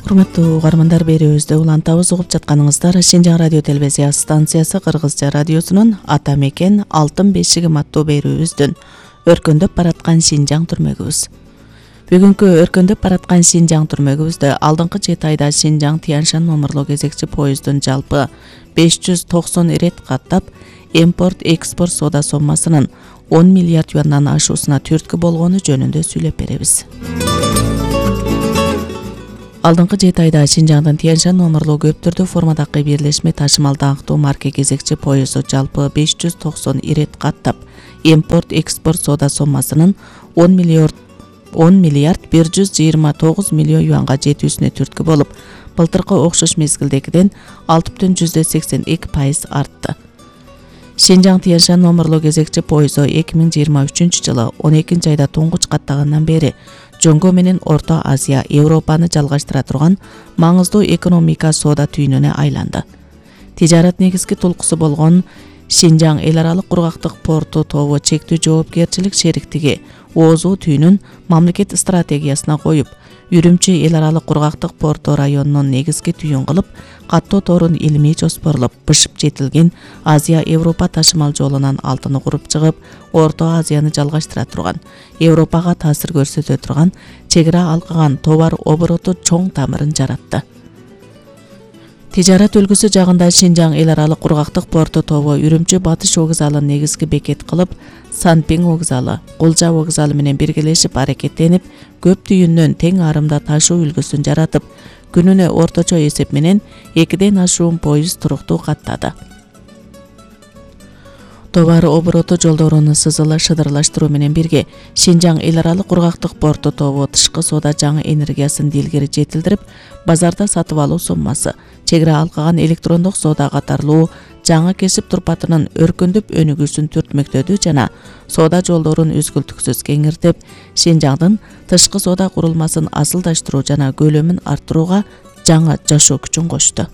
Урматтуу угармандар, берүүбүздө улантабыз, угуп жатканыңыздар Шинжаң радио телевизия станциясы Кыргызча радиосунун Ата мекен алтын бешигим аттуу берүүбүздүн өркөндөп бараткан Шинжаң түрмөгүбүз. Бүгүнкү өркөндөп бараткан Шинжаң түрмөгүбүздө алдыңкы 7 айда Шинжаң Тянь-Шань номерлуу кезекчи поезддун жалпы 590 ирет каттап, импорт-экспорт соода соммасынын 10 миллиард юандан ашуусуна түрткү болгону жөнүндө сүйлөп беребиз. Алдыңкы 7 айда Шинжаңдын Тянь-Шань номерлуу көп түрдүү формадагы бирлешме ташымал даңктуу марка кезекчи поезду жалпы 590 ирет каттап, импорт-экспорт соода соммасынын 10 миллиард 129 миллион юанга жетүүсүнө түрткү болуп, былтыркы окшош мезгилдегиден 6,82% артты. Шинжаң Тянь-Шань номерлуу кезекчи поезду 2023 жылы 12 айда туңгуч каттагандан бери Жоңго менен Орто Азия, Европаны жалгаштыра турган маңыздуу экономика соода түйүнүнө айланды. Тижарат негизги толкусу болгон Шинжаң эл аралык кургактык порту тобу чектүү жоопкерчилик шериктиги оозуу түйүнүн мамлекет стратегиясына коюп, Үрүмчү эл аралык кургактык порту районунун негизги түйүн кылып, каттоо торун илимий жоспорлоп, бышып жетилген Азия-Европа ташымал жолунан алтыны куруп чыгып, Орто Азияны жалгаштыра турган, Европага таасир көрсөтө турган чек ара алкаган товар обороту чоң тамырын жаратты. Тижарат өлкөсү жагында Шинжаң эл аралык кургактык порту тобу Үрүмчү Батыш вокзалын негизги бекет кылып, Санпиң вокзалы, Кулжа вокзалы менен биргелешип аракеттенип, көп түйүндөн тең арымда ташуу үлгүсүн жаратып, күнүнө орточо эсеп менен 2ден ашуун поезд туруктуу каттады. Товар обороту жолдорун шыдырлаштыруу менен бирге Шинжаң эл аралык кургактык порту тобу тышкы соода жаңы энергиясын дилгери жетилдирип, базарда сатып алуу соммасы, чек ара алкаган электрондук соода катарлуу жаңы кесип турпатынын өркөндөп өнүгүүсүн түртмөктөдү жана соода жолдорун үзгүлтүксүз кеңиртип, Шинжаңдын тышкы соода курулмасын асылдаштыруу жана көлөмүн арттырууга жаңы жашоо күчүн кошту.